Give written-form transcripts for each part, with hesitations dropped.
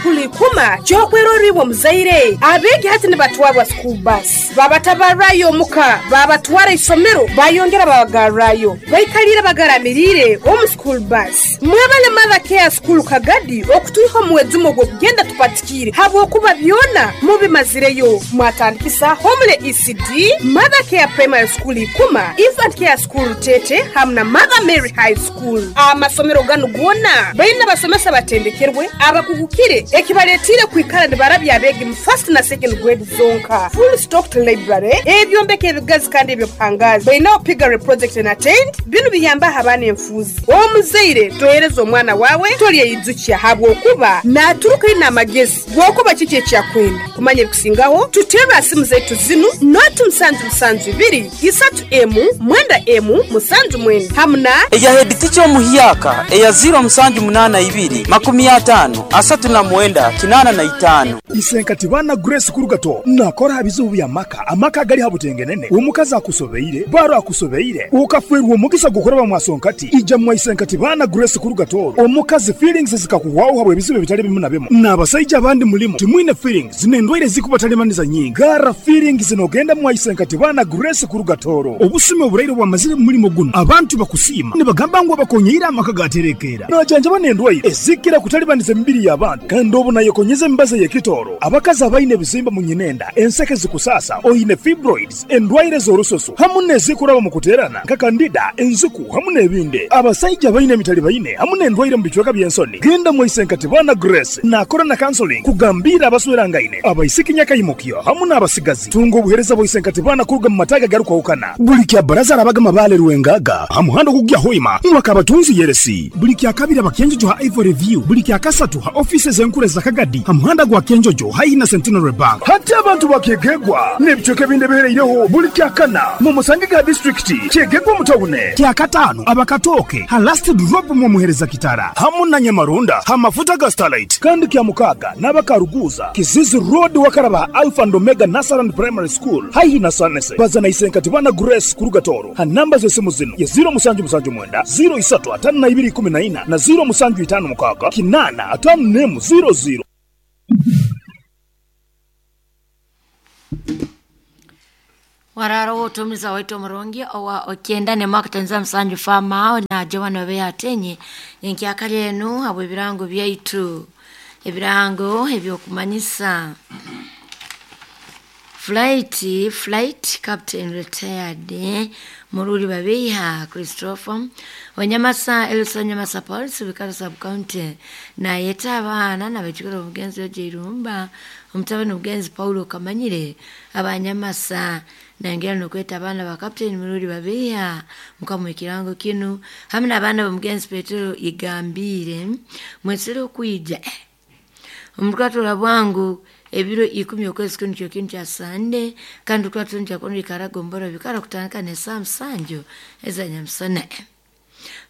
School Ikuma ky'okwerorra iwe omuzaire. Abeegi hati nibatwarwa school bus, babatabarrayo omuka, babatwara isomero, bayongera babagarrayo. Baikaliire bagaramiriire omu school bus. Mwebale Mother Care School Kagadi okutwiha omu mwejumo gw'okugenda tupatikiire habwokuba byona mubimazireyo. Mwatandikisa Homely ECD, Mother Care Primary School Ikuma, Infant Care School Rutete hamu na Mother Mary High School. Amasomero ganu goona baine abasomesa abatendekerwe, abakugukire ekibaletiire kwikara nibarabya abeegi mu first na second grade zonka. Full stocked library, ebyombeko ebigazi kandi eby'obuhangaazi. Bainaho piggery project and attained. Binu biyambaho abaana enfuuzi. Omuzaire tohereza omwana waawe tolyeyijukya habwokuba naaturuka aine amagezi g'okuba kiki eki akwenda. Kumanya ebikusingaho, tuterre ha simu zaitu zinu, noti musanju musanju ibiri, isatu emu, mwenda emu, musanju mwenda hamu na. Eya heditica omuhyaka eya ziro musanju munana ibiri, makumi atano, asatu na mwenda, kinana na itano. Isenkati baana Grace Kurugato nakora ha bizibu by'amaka, amaka agali ha butengenene, omukazi akusobeire, baro akusobeire, okafeerwa omugisa gw'okuraba mwasonkati, ija mwa Isenkati baana Grace Kurugato, omukazi feelings zikakuhwaho habw'ebizibu ebitali bimu na bimu, n'abasaija abandi mulimu timwine feelings n'endwaire ezikubatalibaniza nyingi, garra feelings n'ogenda mwa Isenkati baana Grace Kurugatoro. Obusumi oburaire obwamazire mu mulimo gunu, abantu bakusiima nibagamba ngu abakonyeire amaka gaterekeera. Najanjaba n'endwaire ezikira kutalibaniza emibiri y'abantu kandi obu nayekonyeza emibazi ey'ekitooro. Abakazi abaine ebizimba mu nyinenda, enseke zikusaasa, oine fibroids, endwaire z'orususu hamu n'ezikuraba omu kuteerana nka kandida, enziku hamu n'ebindi. Abasaija abaine emitalibaine hamu n'endwaire omu bicweka by'ensoni, genda mwaise Nkatibana Grace naakora na counseling kugambiira abaswerangaine, abaisiki nyakaimukyo hamu n'abasigazi. Tunga obuheereza bwa Isenkatibana kuruga mu mataagi agarukwahukana. Buli kya Baraza arabaga Mabaale Rwengaga ha muhanda ogukugya Hoima mwaka abatunzi Yeresi. Buli kya Kabiri aba Kyenjojo ha Ivory View. Buli kya Kasatu ha ofiisi ez'enkuru eza Kagadi ha muhanda gwa Kyenjojo haihi na Centenary Bank. Hati abantu ba Kyegegwa n'ebicweka ebindi ebihereireho buli kya Kana mumusangege ha disiturikiti Kyegegwa omu tawune. Kya Kataano aba Katooke ha Last Drop mwomuhereza Kitara hamu na Nyamaronda ha mafuta ga Starlight. Kandi kya Mukaaga n'aba Karuguuza, Kizizi Road wakaraba ha Alpha and Omega Nursery and Primary School haihi na Sanese. Baza na Isenkatibana Grace kuruga Tooro ha namba z'esimu zinu ye ziro musanju musanju mwenda, ziro isatu atano na ibiri ikumi na ina na ziro musanju itano mukaaga kinana atano n'emu ziro ziro. Wararo wotumiza waitu omurungi owa okyenda nemwaka musanju fama na Joan obe atenye enkyakali enu habw'ebirango byaitu ebirango ebyokumanyisa flight captain retired Mururi Babiha Christopher Wanyamasa Elson Nyamasa Police Bikaro sub county na yeta abaana nabajukira omugenzi Ojeirumba omutabani omugenzi Paulo Kamanyire abanyamasa nangera nokweta abaana ba captain Mururi Babiha mukamu ekirango kinu hamwe n'abaana b'omugenzi Petero Igambire mwesere okwija omukatula bwangu ebiro 10 okwezi kinu kyo kintu kya Sande kandi twatunda kono ikaragombora bikara kutandika ne saa musanju eza nyamusana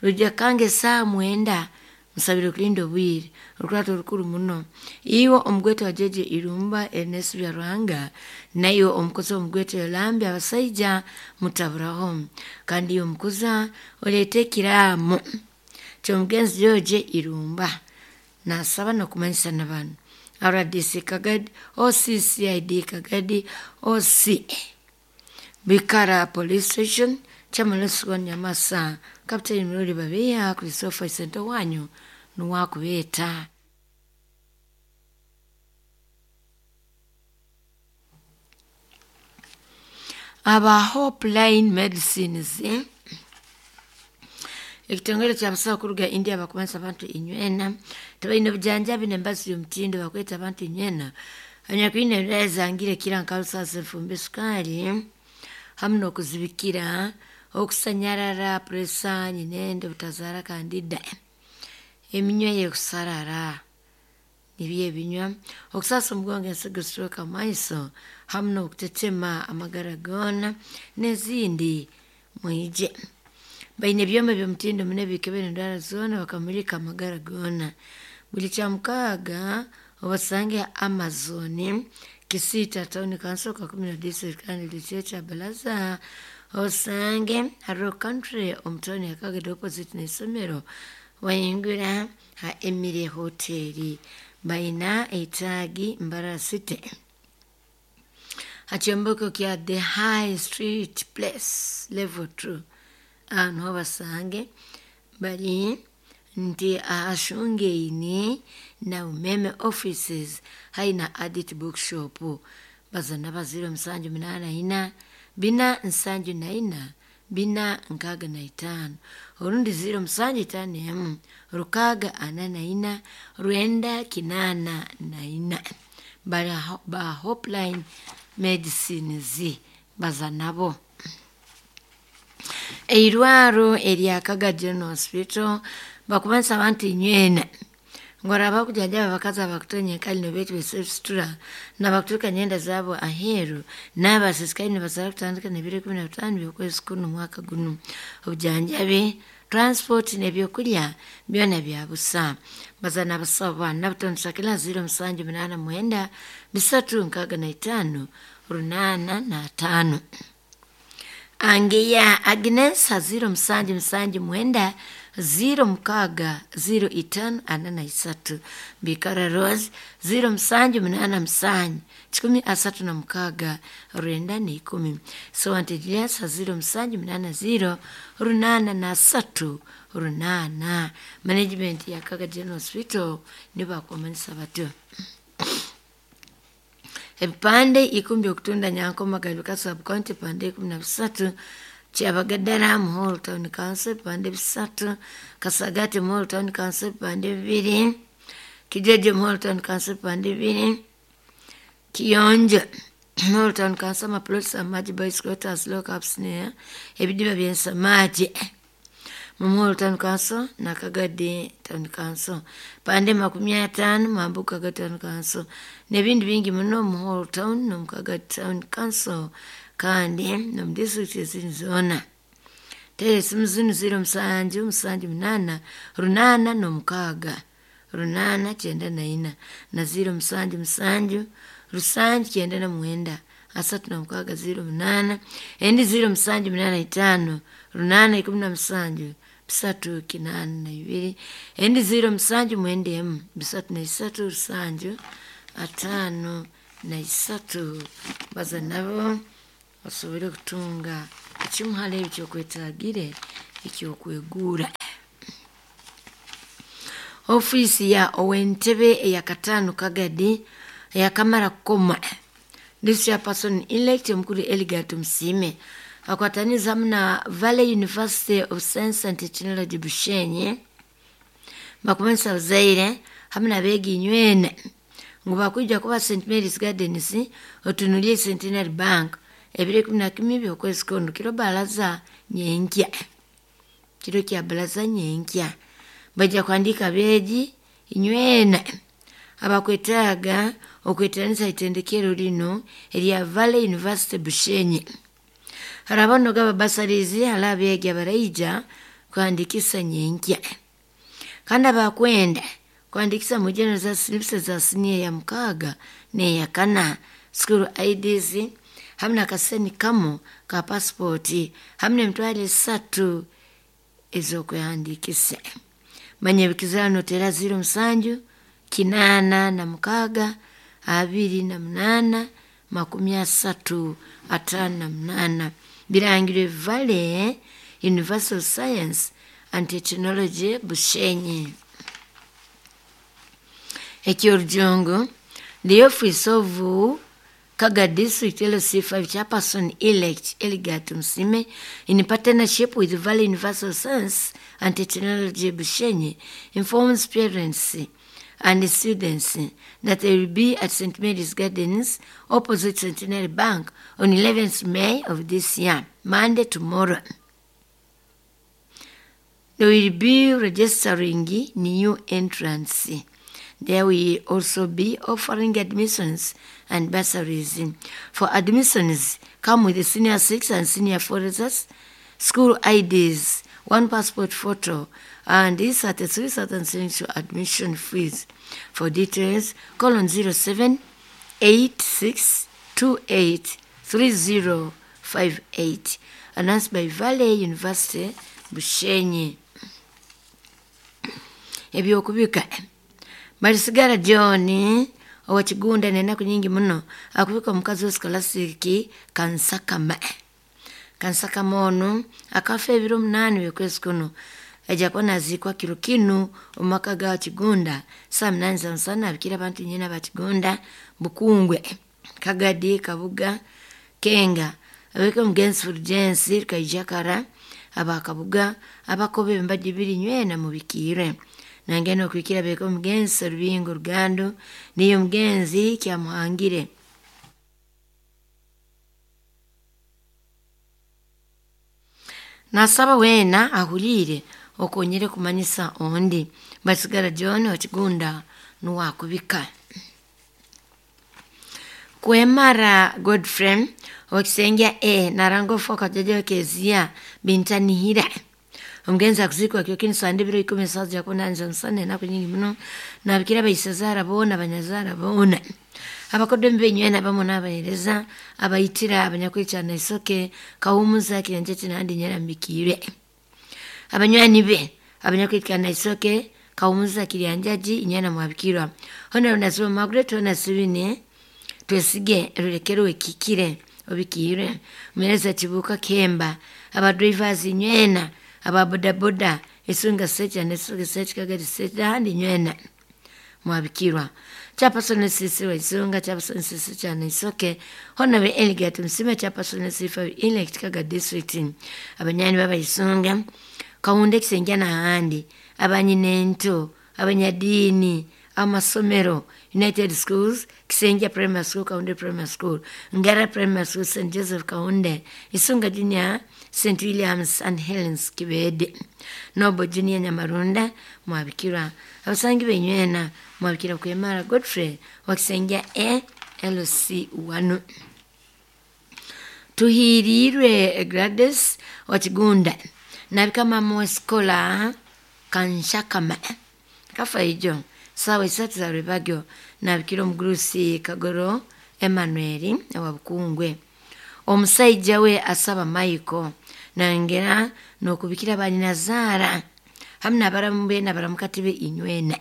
rujja kange saa mwenda musabire kulinda obwire olukurato olukuru muno iwe omugwete wa Jeje Irumba Ernest Byaruhanga nayo omukozi omugwete Yolambi abasaija mutaburaho kandi iyo omukuza oleete ekiraamo ky'omugenzi George Irumba nasaba nokumanyisa n'abantu RDC Kagadi, OCCID Kagadi, OC Bikara Police Station, Chamaloswa Nyamasa, Captain Mururi Babiha, Christopher Sento wanyu nuwakubeeta. Aba Hope Line Medicines ekitongole kya kuruga India bakumanisa abantu inywena tebalina obujanjabi n'embazi y'omutindo bakweta abantu inywena anyakwine endwara zangire kira nkalusasa enfumbi sukali hamu n'okuzibikira okusanyarara puresa nyinende butazaara kandida eminywa yekusarara nibyo ebinywa okusasa omugongo ensigo stroke amaiso hamu n'okutetema amagara goona n'ezindi mwije baine ebyoma by'omutindo muno ebikebera endwara zoona bakamulika amagara goona buli kyamukaaga obasange Amazon Kisita Town Council Kakumiro District kandi Luchecha Balaza osange Haro Country omutoni akagede opposite n'isomero wayingura ha Emire Hotel Baina etaagi Mbarara City hakyombeko kya The High Street Place level 2, aho niho basange bari nti ahashungaine na Umeme offices haina Adit Bookshop. Bazana ba 0784 474 465 orundi 0751 644 984. Bari ba Hopeline Medicines baza nabo. Eirwaro erya Kaga General Hospital bakubanisa abantu inywena ngora bakujajaba abakazi abakutonya enkali nobetu besesitura nabakuturuka nyenda zabo aheru n'abasisikayi nibasaba kutandika n'ebiro 15 by'okwezi kuno mwaka guno. Obujanjabi, transport n'ebyokulya byona bya busa. Bazana abasawo bana batondesa 0789 365 805. Angeya Agnes 0779 06 05 43. Bikara Rose 0787 136 910. Sowante Julius 0780 803 8. Management ya Kaga General Hospital nibakumanisa batyo. Ebipande 10 okutunda Nyankoma Garuka sub county pande 13, Kyabagadara Muhoro Town Council pande 3, Kasagati Muhoro Town Council pande 2, Kijeje Muhoro Town Council pande 2, Kiyonjo Muhoro Town Council maplots amaji boys quarters lockups near ebidiba by'ensamaji Muhoro Town Council na Kagadi Town Council pande 50 Mambuka Town Council n'ebindi bingi muno Muhoro Town no Kagadi Town Council kandi no mu district ezindi zoona. Tera esimu zinu 07 78 806 894 na 07 7 99 36 08 endi 0785 817 382 endi 0791 303 753. Baza nabo basobole kutunga ekimuhara ekyokwetagire ekyokwegura. Ofiisi ya owentebe eya Katano Kagadi eyakamara kukoma district person elect omukuru Eligat Musime akwataniza hamwe na Valley University of Science and Technology Bushenyi bakumanisa abazaire hamwe n'abeegi inywena ngu bakwija kuba St Mary's Gardens otunulie Centenary Bank ebiro 11 by'okwezi kuno kiro baraza nyenkya, kiro kya baraza nyenkya. Bajja kuandika abeegi inywena abakwetaaga okweteranisa itendekero lino erya Valley University Bushenyi. Harabano gaba basarizi hali abeegi abaraija kuhandikisa nyenkya. Kandi abakwenda kuhandikisa mujeno za slips za siniya ya 6 n'eya 4, school IDs hamwe n'akaseni kamu ka pasipoti hamwe n'emitwaro 3 ez'okwehandikisa. Manya ebikizano tera 07 86 28 30 58. Birangirwe Valley University of Science and Technology Bushenyi. Ekyorujungu, the office of Kaga District LC5 Chairperson elect Eligat Musime in partnership with Valley University of Science and Technology Bushenyi informs parents and students that they will be at St. Mary's Gardens opposite Centenary Bank on 11th May of this year, Monday tomorrow. They will be registering new entrants. There will also be offering admissions and bursaries. For admissions, come with the senior 6 and senior 4 results, school IDs, 1 passport photo, and these are the 3,000 admission fees. For details, call on 07 86 28 3058. Announced by Valley University, Bushenyi. Ebyokubika. Balisigara John owa Kigunda nenaku nyingi muno akubika omukazi we Scholastic Kansakama. Kansakama ono akafa ebiro 8 by'okwezi kuno, aja kuba naziikwa kiro kinu omu maka ga Kigunda saa 8 za musana. Abikira abantu nyina ba Kigunda, Bukungwe, Kagadi, Kabuga, Kenga, abeka omugenzi Fulgence Kaijakara, abakabuga abakobe embaji biri nywena mubikire. Nangeno okuikira beka omugenzi Rubingo Rugando niyo omugenzi Kyamuhangire. Nasaba wena ahulire okonyere kumanyisa ondi. Basigara John Okigunda nuwakubika. Kwemara Godfrey okisengya e narango foka jaja kezia bintanihira. Omugenzi akuzikwa kyo kini sande biro 10 saza yakona nzansane na kunyingi muno nabikira bayisazara bona banyazara bona. Abakodde mbenywena bamo n'abahereza abayitira abanyakwecana isoke kawumuza kirenjeti nandi nyera mbikire. Abanywani be abanyakwecana isoke kawumuza kiryanjaji inyana mwabikirwa. Hona unasiba Margaret hona sibine twesige rulekerwe kikire obikire. Mwereza kibuka kemba aba drivers nywena aba boda boda isunga secha nesuga secha kagari secha handi nywena mwabikirwa. Chapasone sisi wa isunga chapasone sisi chana isoke hona we eligatu msime chapasone sifa ile kaga district abanyani baba isunga kaunde kisengya na handi abanyinento abanyadini amasomero United Schools Kisengya Primary School, Kaunde Primary School, Ngara Primary School, St Joseph Kaunde, Isunga Junior, St Williams and Helens Kibede, Nobo Junior Nyamarunda mwabikirwa. Abasangi benywena mwabikira kwemara Godfrey wa Kisengya E LC1. Tuhirirwe Gladys wa Kigunda nabika mama wa skola Kanshakama kafa ijo sawa 3 za rwebagyo nabikira omugurusi Kagoro Emmanuel wa Bukungwe. Omusaija we asaba Michael nangera nokubikira banyinazara hamwe nabarambe nabaramukatibe inywena.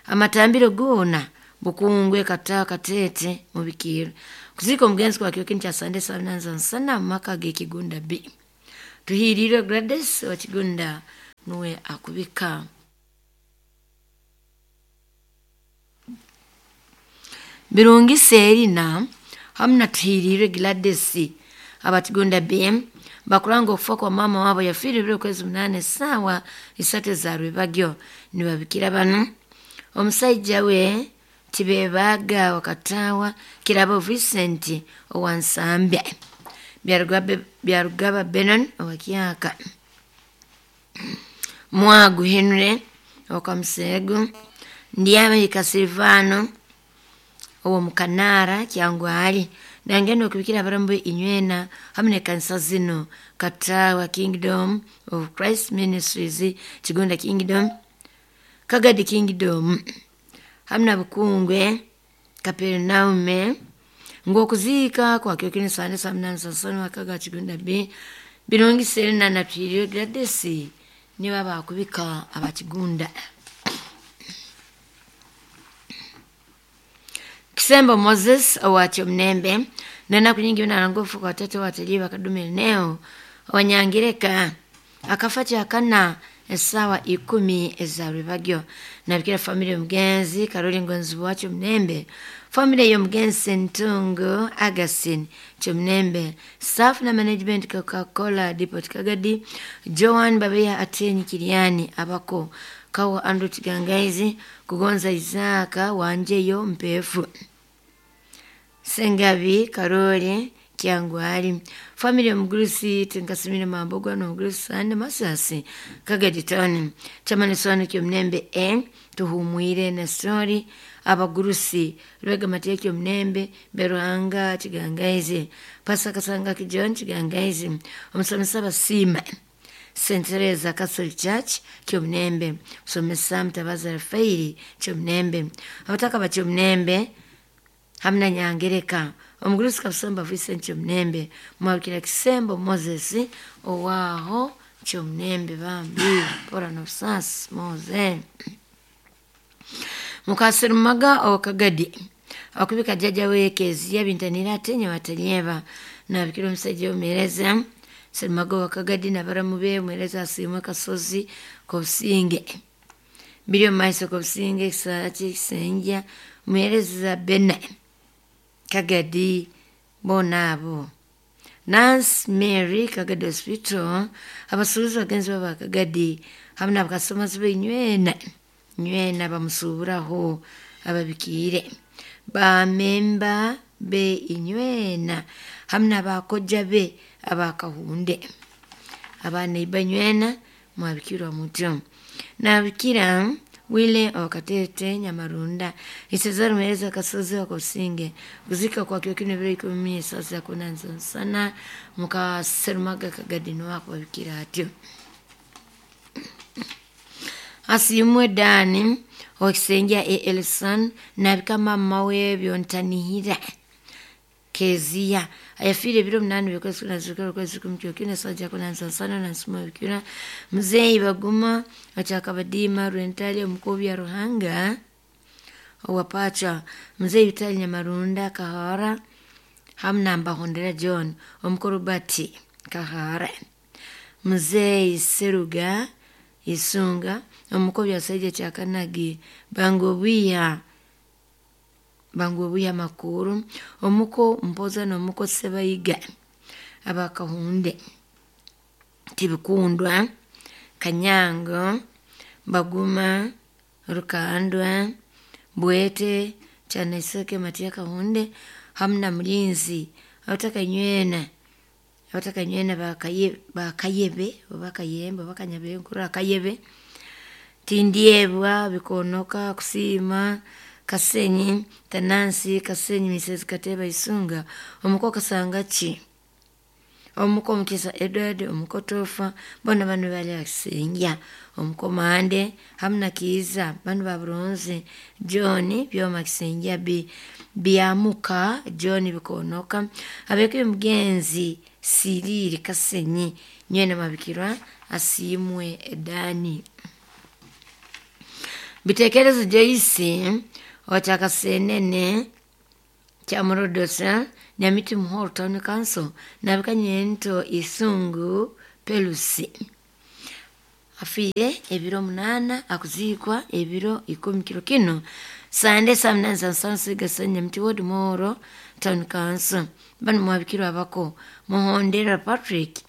Amatambiro gona Bukungwe kata katete mubikiro. Kuziko omugenzi kwa kyo kya Sunday saa 8 za nsana maka ge Kigunda B. Tuhirire Gladys wa Kigunda nuwe akubika. Birungi Serina hamna tuhirire Gladys abatigunda BM bakuranga okufa kwa mama wabo yafiri biro kwezi 8 sawa 3 za rwebagyo nibabikira bano. Omusaija we tibebaga wakatawa kirabo Vincent owansambya Byarugaba Benon owakyaka Mwagu Henry okamsegu Ndiame Kasilvano owo mukanara kyangwali nangeno okubikira abarambo inywena hamwe ne kanisa zino Katawa Kingdom of Christ Ministries, Kigunda Kingdom, Kagadi Kingdom hamwe na Bukungwe Kapernaume. Ngokuzika kwa kyo kini sande saa 8 za nsano wakaga Kigunda B. Birungi Serena na Twiriyo Gladys nibo abakubika abakigunda. Kisembo Moses owacho mnembe nena kunyingi na ngufu kwa watoto watalii wakadume neo wanyangireka akafacha akana esawa 10 za rwebagyo nabikira familia mgenzi Karoli Ngonzi wacho mnembe familia yo mgenzi Ntungo Agasin chomnembe staff na management Coca-Cola Depot Kagadi Joan Babea Atenyi Kiriani abako kawa Andrew Chigangaizi kugonza Isaka wanjeyo mpefu Sengabi Karoli Kyangwali familia mgurusi tinkasimine mambogwa no mgurusi sande masasi Kagadi Tony chamaniswano kyomnembe e tuhumwire na story abagurusi rwega mateke kyomnembe beruhanga Chigangaizi pasakasanga kijon Chigangaizi omusomesa basima St. Teresa Catholic Church kyomnembe musomesa Mtabaza Rafaeli kyomnembe abataka ba kyomnembe hamna nyangereka omugurusi Kasomba Vincent kyomnembe mwabikira Kisembo Moses owaho kyomnembe bambi pora no sas Moses. Mukasirumaga okagadi akubika jjajja weekeziya bintanira atenya watanyeba nabikira omusajja omumereza Sirumaga wakagadi nabaramu be mwereza asiimwe Kasozi Kobusinge biri omu maiso Kobusinge Kisaki Kisenja mwereza Bena Kagadi boona abo Nancy Mary Kagadi Hospital abasuubuzi bagenzi baba Kagadi hamu n'abakasomazi b'enywena nywena bamusuuburaho ababikiire bamemba be inywena hamu n'abakojja be abakahunde abaana iba nywena mwabikirwa mutyo nabikira wile wakatete Nyamarunda isezari mwereza Kasozi wakosinge kuzika kwa kyo kino biro ikumi sasa kuna sana mukaserumaga Kagadi wako babikira atyo asimwe Dani okisenja Elson nabika mama we byontanihira Kezia ayafire biro 8 byokwezi kuna zikoro kwezi kumcho kina saja kuna sana na nsuma bikira mzee baguma achakabadima rentali mkobi ya Ruhanga owapacha mzee Vitali Nyamarunda Kahara hamna Mbahondera John omkorobati Kahara mzee Seruga Isunga omukobi asaija Kyakanagi Bangobwiya Makuru omuko Mpoza n'omuko Sebayiga abakahunde Tibikundwa Kanyango Baguma Rukandwa Bwete Kyanaiseke Matia Kahunde hamna Mulinzi abatakanyweena bakayebe bakayemba bakanyabenkura akayebe Tindyebwa Bikonoka Kusiima Kasenyi Tanansi Kasenyi Misezi Kateba Isunga omuko Kasangachi omuko Mukisa Edward omuko Tofa bona bano bali akisenja omuko Mande hamna Kiiza bano ba Buronzi John Byoma Kisenja Byamuka John Bikonoka abeke mugenzi Siriri Kasenyi nywena mabikirwa asimwe Dani bitekerezo Joyce Ochakasenene Kyamurodosa Nyamiti Muhoro Town Council nabikanyento Isungu Pelusi afiire ebiro 8 akuzikwa ebiro 10 kiro kino Sande saa 8 za Nyamiti Ward Muhoro Town Council bano mwabikirwa abako Muhondera Patrick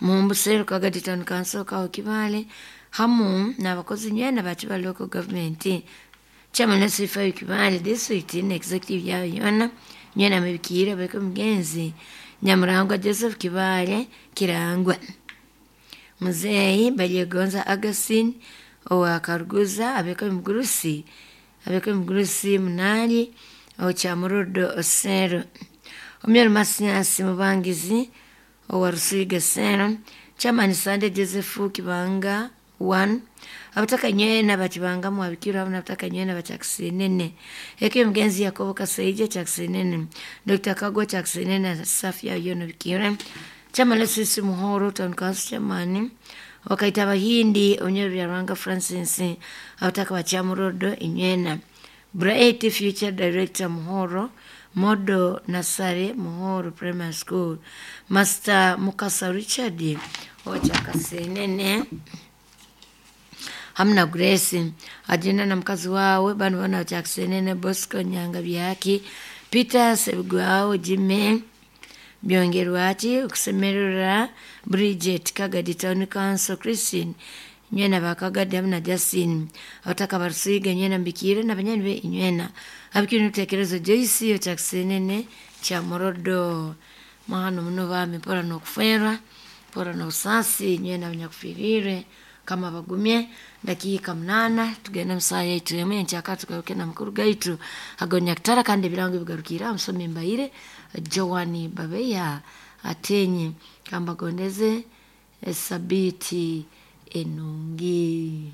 Mumbusero Kagadi Town Council kawo Kibale hamu n'abakozi nywena bakiba local government chairman wa Kibale district ne executive yayo yona nywena mabikira bariko mugenzi Nyamurangwa Joseph Kibale Kirangwa muzeyi Balyegonza Augustine owa Karuguza abeko mugurusi Munali Ochamurudo Osero Omyero Masiasi Mubangizi owa Rusiga Sero chairman Sande Joseph Kibanga 1 abataka nywena bakibanga mwabikirwa hamwe abataka nywena bachakisenene eke mugenzi Yakobo Kaseija Chakisenene Dr. Kagwa Chakisenene Safia yono bikira chama lesisi Muhoro Town Council chairman wakaita Bahindi onyeru ya Rwanga Francis abataka bachamurodo inywena Bright Future Director Muhoro Modo Nasare Muhoro Primary School Master Mukasa Richard Ochakasenene hamna Grace ajina na mkazi wawe bano bana Chakisenene Bosco Nyanga Byaki Peter Sebugwao Jime Byongerwaki okusemerera Bridget Kagadi Town Council Christine nywena bakagadi hamna Justin abataka barusiga nywena mbikire na banyani be inywena abikire n'ibitekerezo Joyce Chakisenene Kyamorodo mahano muno bami pora n'okuferwa pora n'obusasi nywena abanyakufirire kama bagumye dakika 8 tugenda msaa yaitu yemwe nchaka tugaruke na mukuru gaitu agonya kitara kandi birango bigarukira musomi mbaire Joani Babeya atenye kamba gondeze sabiti enungi.